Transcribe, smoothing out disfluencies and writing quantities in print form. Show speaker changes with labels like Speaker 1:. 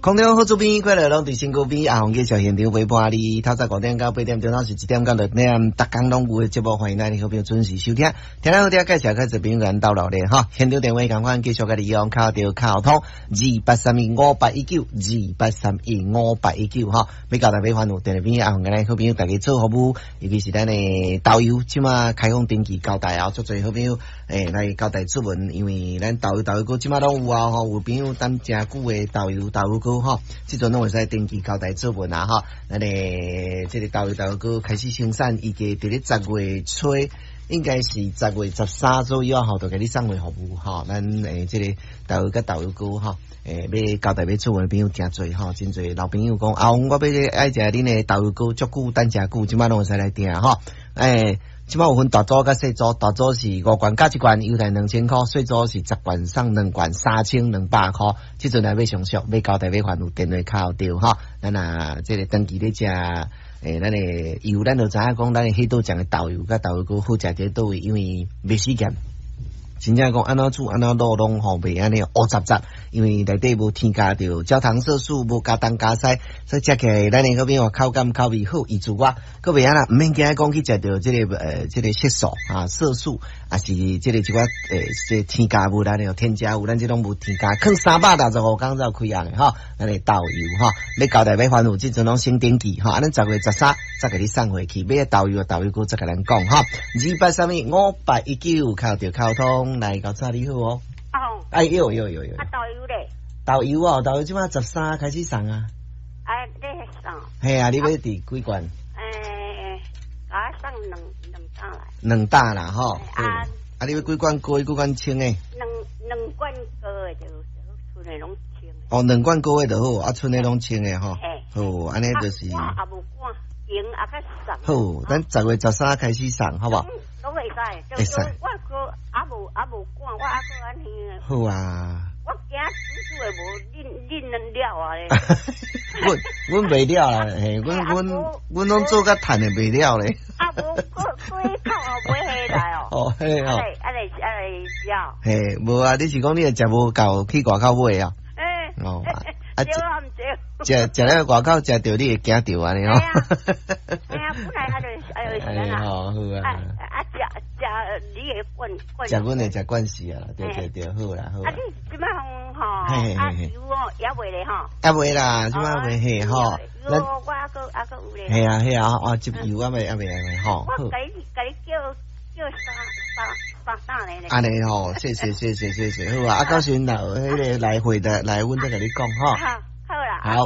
Speaker 1: 空中好主編，快樂攏佇身軀邊，阿紅繼續現場陪伴你。透早5點到8點鐘，攏是1點到6點，逐工攏有的節目，歡迎咱的好朋友準時收聽。聽了好聽，介紹較濟朋友咱鬥熱鬧哈。現場電話仝款繼續共你用，敲著敲通28315819，28315819哈。欲交代欲煩惱，電話邊阿紅佮咱好朋友大家做服務，尤其是咱的豆油，這馬開放登記交代啊，足濟好朋友來交代出門，因為咱豆油豆油膏這馬攏有啊吼，有朋友等誠久的豆油豆油膏吼，這陣攏會使登記交代出門啊吼。咱的這个豆油豆油膏開始生產，預計佇咧10月初，應該是10月13左右吼，就共你送貨服務吼。咱這个豆油佮豆油膏吼，欲交代欲出門的朋友誠濟吼，真濟老朋友講啊，我欲愛食恁的豆油膏，足久等誠久，這馬攏會使來訂吼。這馬有分大組佮細組，大組是五罐加一罐，優待2000箍；細組是10罐送兩罐，3200箍。這陣來欲上俗，欲交代欲煩惱，電話敲著吼。咱啊，這个長期咧食，咱的油，咱就知影講，咱的彼道醬的豆油佮豆油膏好食佇佗位，因為袂死鹹。真正講按怎煮按怎滷攏吼袂按呢烏雜雜，因為內底無添加著焦糖色素，無加東加西，所以食起來咱的嗰邊話口感口味好，伊自我，閣袂按呢，毋免驚講去食著這个色素啊色素，抑是這个一寡這添加物，咱的添加物，咱這攏無添加，囥365工才有開啊吼，咱的豆油吼，欲交代欲煩惱，這陣攏先登記吼，啊，咱10月13才共你送貨去，欲豆油豆油膏再共咱講吼，28315819敲著敲通。來，較早你好哦。
Speaker 2: 哦。
Speaker 1: 哎呦呦呦呦。
Speaker 2: 啊，豆油咧？
Speaker 1: 豆油哦，豆油這馬13開始送啊。
Speaker 2: 啊，你送？
Speaker 1: 嘿啊，你欲佇幾罐？
Speaker 2: 啊，送兩打來。
Speaker 1: 兩打啦，吼。啊。啊，你欲幾罐高的，幾罐清的？
Speaker 2: 兩罐高的就好，賰的攏清的。
Speaker 1: 哦，兩罐高的就好，啊，賰的攏清的吼。好，按呢就是。
Speaker 2: 我也無趕，閒也較送。
Speaker 1: 好，咱10月13開始送，好無？
Speaker 2: 攏會使，
Speaker 1: 會使。
Speaker 2: 我閣也無趕，我猶閣按呢。
Speaker 1: 好啊。
Speaker 2: 我驚煮煮的無恁恁能了啊咧。
Speaker 1: 阮阮袂了啦，嘿，阮阮阮攏做較趁的袂了咧。
Speaker 2: 啊無，閣閣口後買回來哦。
Speaker 1: 哦，嘿哦。
Speaker 2: 啊咧啊咧食。
Speaker 1: 嘿，無啊，你是講你會食無夠去外口買啊？
Speaker 2: 欸。
Speaker 1: 哦。
Speaker 2: 啊，對啊，毋對。
Speaker 1: 食食了外口食著，你會驚著按呢吼。
Speaker 2: 嘿啊，本來啊就是啊。
Speaker 1: 好啊。
Speaker 2: 啊，食食你會慣慣。
Speaker 1: 食阮的食慣勢啊，對對對，好啦好。
Speaker 2: 啊，你這馬吼，啊油哦，猶未咧吼。
Speaker 1: 猶未啦，這馬未嘿吼。
Speaker 2: 油我猶閣有咧。
Speaker 1: 嘿啊嘿啊，啊這油猶未猶未吼。
Speaker 2: 我共你叫叫三三打咧。
Speaker 1: 按呢吼，謝謝謝謝謝謝，好啊，啊到時陣若有彼个來回的來，阮再共你講吼。